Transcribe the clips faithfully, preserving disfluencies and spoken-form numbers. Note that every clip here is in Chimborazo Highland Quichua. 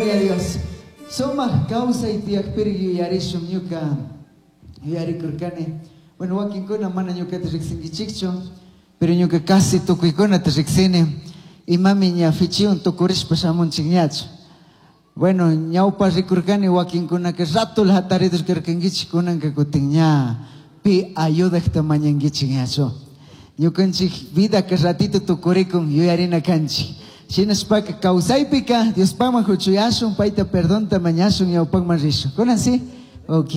Gloria a Dios. Sumaq kawsay tiyakpiri yuyarishun ñuka yuyarikurkani. Bueno, wakinkuna mana ñukata riqsinkichikchu, pero ñuka casi tukuykunata riqsini. Imami ña fichiwan tukurishpa shamunchikñachu. Bueno, ñawpa rikurkani wakinkunaka ratula hataridur karkankichik, kunanka kutin ña pi ayudaqta mañankichik ñachu. Ñukanchik vidaka ratito tukurikun yuyarina kanchik. Shinashpaka kawsaypika Diospakman huchuyashun, payta perdonta mañashun, ñawpakman rishun. Kunan sí? Ok.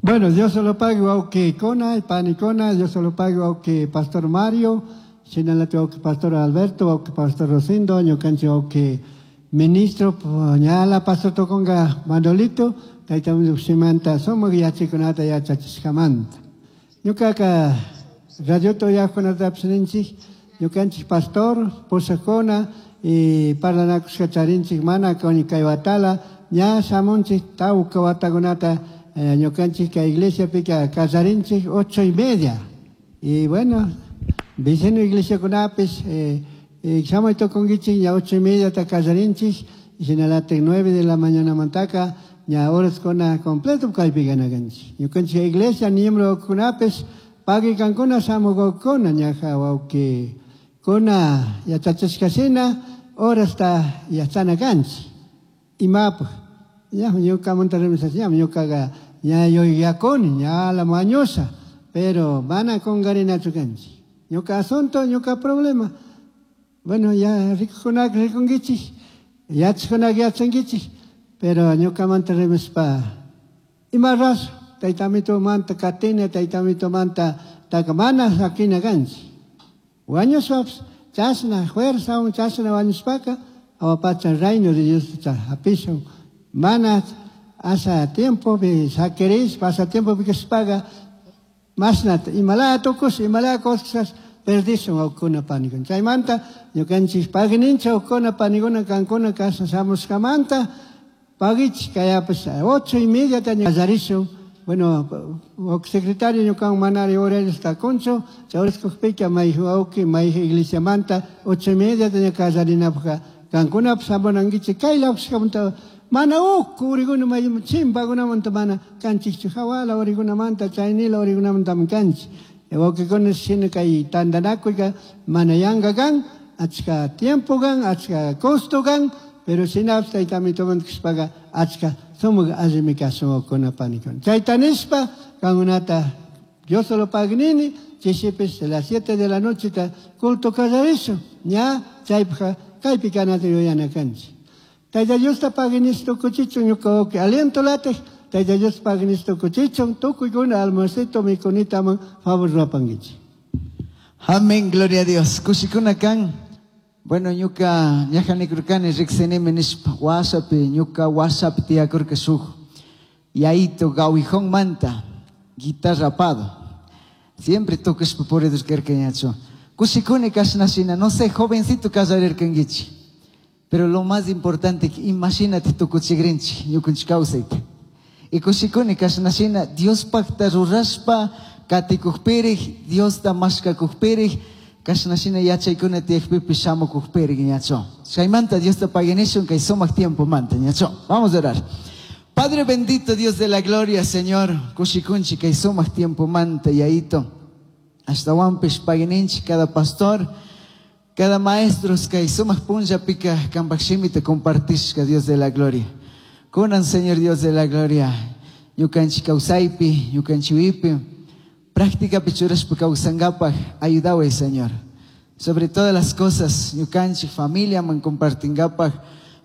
Bueno, Dios se lo pague, wawqikuna, panikuna, Dios se lo pague, wawqi Pastor Mario, shinalati wawqi Pastor Alberto, wawqi Pastor Rosindo, ñukanchik wawqi ministro, ñala Pastor tukunga Manolito, tayta shimanta sumak yachakunata yachachishkamanta. Ñukaka radiota uyaqkunatapish ninchik, ñukanchik pastor, pushakuna, y parlanakushka charinchik mana kay watala, ña shamunchik tawka watakunata, eh, ñukanchik kay iglesiapika kallarinchik ocho y media. Y bueno, vecino iglesiakunapish, eh, eh, shamuy tukunkichik ña ocho y media ta kallarinchik, y shinalatik nueve de la mañana mantaka, ña horaskuna completo kaypi kanakanchik. Ñukanchik iglesia miembro kunapish, pagui kankuna shamukukuna ñaja wawqi kuna yachachishka shina horasta yachana kanchik. Imapaj, ña ñukamanta rimasha, ñukaqa ña yuyakuni, ña la mañosa, pero mana kunkarinachu kanchik. Ñuka asunto, ñuka problema. Bueno, ya rikukunaka rikunkichik, yachajkunaka yachankichik, pero ñukamanta rimaspa ima razo, taytamitumanta katina, taytamitumanta taka mana sakina kanchik. Wañushpapish chashna fuerzawan chashna wañushpaka awapacha reino de Dios hapishun. Mana asa tiempo pi sakirish, pasa tiempo pi kashpaga masna imalaya tukush, imalaya cosas perdishun wawkuna panikuna. Chaymanta ñukanchik pagninchik wawkuna panikuna kankuna kasha shamushkamanta pagichik kayapish ocho y media ta kallarishun. Bueno, secretario ñukan manari horarios takunchu, chawriskukpika may wawqi, may iglesiamanta ocho y media ta kallarinapaka kankunapish shamunankichik kay lawshkamanta mana ukku uriguna may chimpakunamanta mana kanchikchu, hawala urigunamanta, chaynila urigunamantami kanchik. Wawqikuna shina kay tantanakuyka mana yanka kan, achka tiempo kan, achka costo kan, pero shinapish taytamitumanta kashpaka achka sumak allimi kashun wawkuna panikuna. Chayta nishpa kankunata Dios se lo pagnini, chishipish a las siete de la noche ta culto kallarishun, ña chaypaka kaypi kanata yuyana kanchik. Tayta Diosta pagnish tukuchichun ñuka wawqi aliento latej, Tayta Dios pagnish tukuchichun, tukuykuna almuercito mikunitaman favor ruwapankichik. Amén, gloria a Dios. Kushikuna kan. Bueno, ñuka ñajanikurkani riqsinimi nishpa WhatsAppi, ñuka WhatsApp tiyakurka shuk yayito gawijón manta, guitarra apado. Siempre tocashpa puridur karka ñachu. Kushikuni kashnashina, no sé, jovencito kallarirkankichik. Pero lo más importante, imagínate tukuchigrinchik, ñukanchik kawsayta. Y kushikuni kashnashina, Diospakta rurashpa katikukpirik, Diosta mashkakukpirik, kashnashina yachaykuna tiyakpipish shamukukpirik ñachu. Chaymanta Diosta paginishun kay sumak tiempo manta ñachu. Vamos a orar. Padre bendito, Dios de la gloria, Señor, kushikunchi kay sumak tiempo manta yaito. Ashtawanpish pagininchi cada pastor, cada maestro kay sumak punllapika kanpak shimita compartishka, Dios de la gloria. Kunan, Señor Dios de la gloria, ñukanchik kawsaypi, ñukanchiwipi, práctica churashpa kawsankapaj, ayudaway, Señor. Sobre todas las cosas, ñukanchik familia man compartinkapaj,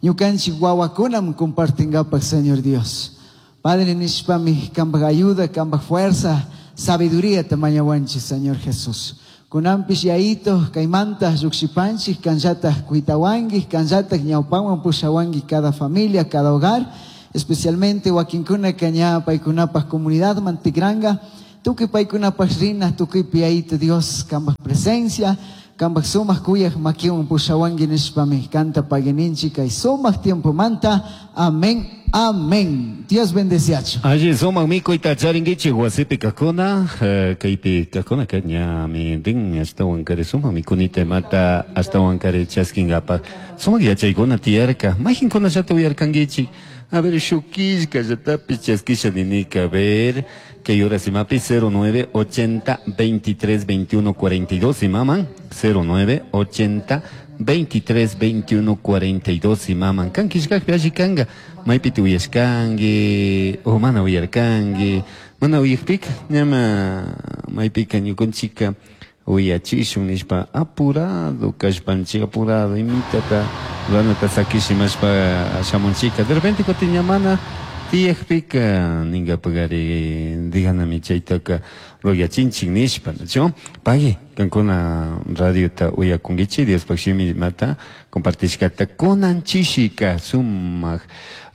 ñukanchik wawakuna man compartinkapaj, Señor Dios. Padre nishpami, kanpak ayuda, kanpak fuerza, sabiduría tamañawanchik, Señor Jesús. Kunanpish yaito, kaymanta, llukshipanchik, kanllataj kuitawanki, kanllataj ñawpawan pushawanki cada familia, cada hogar, especialmente wakinkuna kaña paykunapaj comunidad mantigranga, tukuy paykunapaj rina, tukuypi yaito Dios, kanpak presencia, kanpak sumak kuyaj makiwan pushawanki nishpami, kanta pagininchik kay sumak tiempo manta. Amén. Amén. Dios bendeciacho. Alli sumak mikuyta charinkichik wasipi kajkuna, eh, kaypi kajkuna ka ñami rin ashtawan kari sumak mikunita imata ashtawan kari chaskinkapak. Sumak yachaykuna tiyarka, mayqinkunallata uyarkankichik. A ver, shuk killkallatapish chaskisha ninika, a ver, kay horas imapi cero nueve ochenta veintitrés veintiuno cuarenta y dos imaman, cero nueve ochenta veintitrés veintiuno cuarenta y dos imaman. Kan killkakpi alli kanga, maypi uyashkanki, o mana uyarkanki, mana uyakpika, ñama maypika ñukanchika uyachishun nishpa apurado kashpanchik, apurado imitata ruranata sakishimashpa shamunchika. De repente kutin ña mana tiyakpika ninkapakari diganami chaytaka ruyachinchik nishpa, ¿no? Pagui, kankuna radiota uyakunkichik, Diospaj shimi imata compartishkata kunan chishika sumak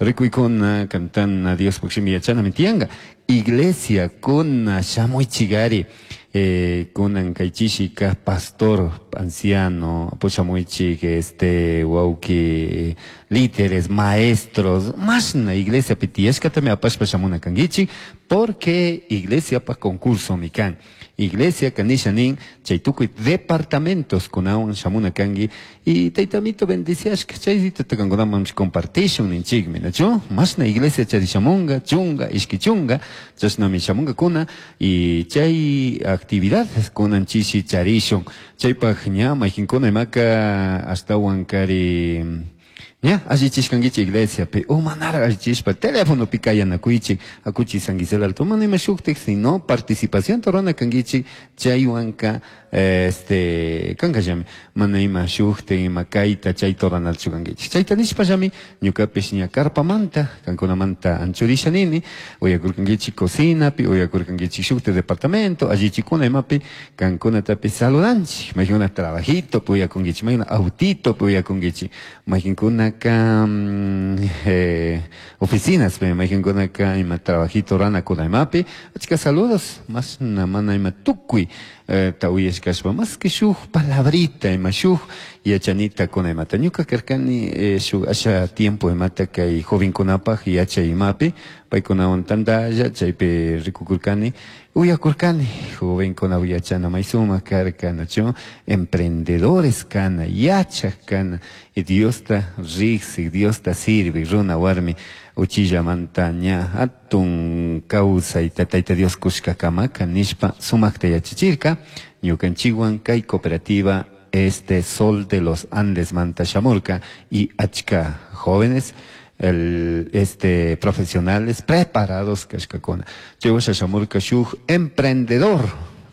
rikuykuna kantana Diospaj shimi yachanami tiyanka. Iglesia kuna shamuichigari, eh, kunan kay chishika pastor anciano pushamuichik, este wauki líderes, maestros, mashna iglesia pitiyashkatami apashpa shamuna kankichik, porque iglesia pa concurso mikan. Iglesia kanisha nin chay tukuy departamentos kunawan shamuna kanki y taytamito bendiciashka chayta kankunaman compartishun ninchikmi, ¿nachu? Mashna iglesia charishamunga, chunga, ishki chunga, chashnami shamunga kuna y chay actividades kunan chishi charishun. Chaypaj ña mayqinkuna imaka ashtawan kari ña allichishkankichik iglesia pi o manara allichishpa teléfono pi kayanakuychik akuchi San Gisela Alto mana ima shuktik sino participación rurana kankichik chaywanka este kankallami mana ima shuktik ima kayta chayta ruranalchu kankichik chayta nishpallami ñukapish ña karpamanta kankunamanta anchurisha nini uyakurkankichik cocinapi uyakurkankichik shuktik departamento allichikuna imapi kankunatapi saludanchik mayqinkuna trabajito pi uyakunkichik mayqinkuna autito pi uyakunkichik mayqinkuna acá, eh, oficinas, me imagino acá ima trabajito rana kuna imapi, achka saludos, más na mana ima tukuy, eh, ta uyashkashpa, más que shuk palabrita ima shuk yachanita kuna imata. Ñuka karkani, eh, shuk asha tiempo imata kay jovenkunapaj yacha imapi, paykunawan tantalla, chaypi rikukurkani, uyakurkani, jovenkuna uyachana may sumak karka, ¿nachu? Emprendedores kana, yachaj kana, y Diosta riksik, Diosta sirvi, runa warmi, uchillamanta ña hatun kawsayta Tayta Dios kushkakamaka nishpa sumakta yachachirirka, ñukanchikwan kay cooperativa este Sol de los Andes manta shamurka y achka jóvenes el, este, profesionales preparados kashkakuna. Chaywasha shamurka shuk emprendedor,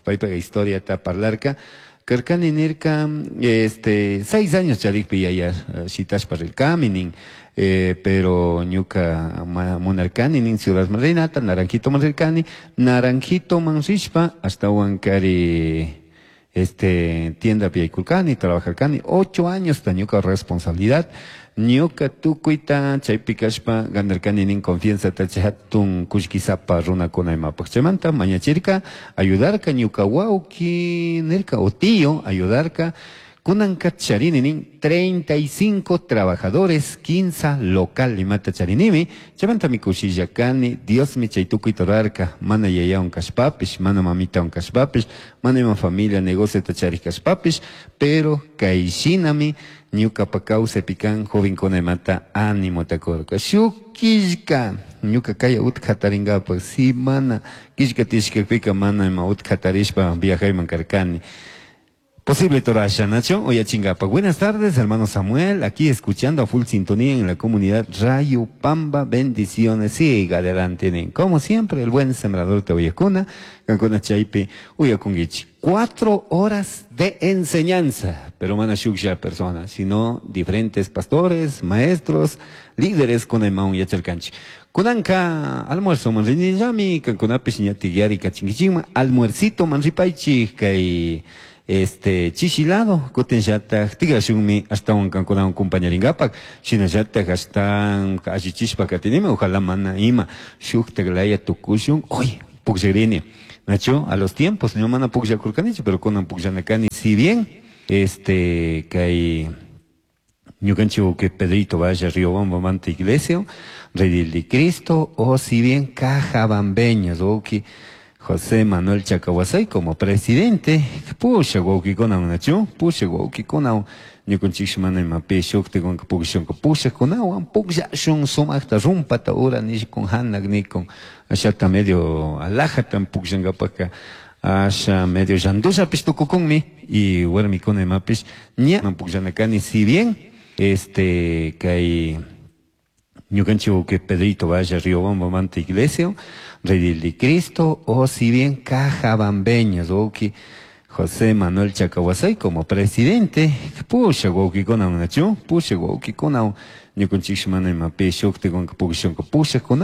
paypa historia ta parlarka, karkani nirka, este, seis años charikpi yaya shitashpa rirkami nin, eh, pero ñuka munarkani nin Ciudad Marinata, Naranjito man rirkani, Naranjito man rishpa, ashtawan kari este, tienda yaykurkani, trabajarkani, ocho años ta ñuka responsabilidad, ñuka tukuyta chaypi kashpa ganarkani nin confianza ta chay hatun kullkisapa runakuna imapaj chaymanta mañachirka ayudarka ñuka wawki nirka o tío ayudarka kunanka charini nin treinta y cinco trabajadores quince local imata charinimi chaymanta mi kushilla kani Dios mi chay tukuyta rurarka mana yayawan kashpapish mana mamitawan kashpapish mana ima familia negocio ta charik kashpapish pero kay shinami ñukapa kawsaypi kan jovenkuna imata ánimo takurka shuk killka ñuka kaya utka hatarinkapak si mana killka tishkakpika mana ima utka hatarishpa viajayman karkani. Posible Torasha, Nacho, Oyachingapa. Buenas tardes, hermano Samuel, aquí escuchando a full sintonía en la comunidad Rayo Pamba. Bendiciones, siga adelante. Como siempre, el buen sembrador te oyacuna, Cancuna Chaipe, Uyakungichi. Cuatro horas de enseñanza, pero mana shuksha persona, sino diferentes pastores, maestros, líderes con el maun yachalcanchi. Kunanka almuerzo manrinillami, Cancunapish ñatiguiari kachingichima, almuercito manripaichi, kay este chishilado kutinllataj tigrashunmi ashtawan kankunawan compañarinkapak shinallataj ashtawan allichishpa katinimi ojalá mana ima shuktak laya tukushun hoy pukllakrini nacho a los tiempos no mana pukllakurkanichu pero kunan pukllanakani si bien este kay Ñukanchik que Pedrito Valle Riobamba Iglesia, Redil de Cristo, o si bien Cajabambeños, wawki José Manuel Chacahuasay como presidente, pusha wawkikuna nachu, pusha wawkikuna ñukanchik mana imapi shuktikunka pukllashunka pushakunawan pukllashun sumaqta rumpata ura nishkun hanak nikun ashata medio alajata pukllankapaka asha medio llandullapish tukukunmi y warmikuna imapish ña pukllana kani si bien este kay ñukanchik que Pedrito Valle Riobamba Iglesia, Redil de Cristo, o si bien Cajabambeños, wawki José Manuel Chacahuasay como presidente, pusha wawkikuna nachu, pusha wawkikuna ñukanchik mana imapi shuktikunka pukllashunka pushakuna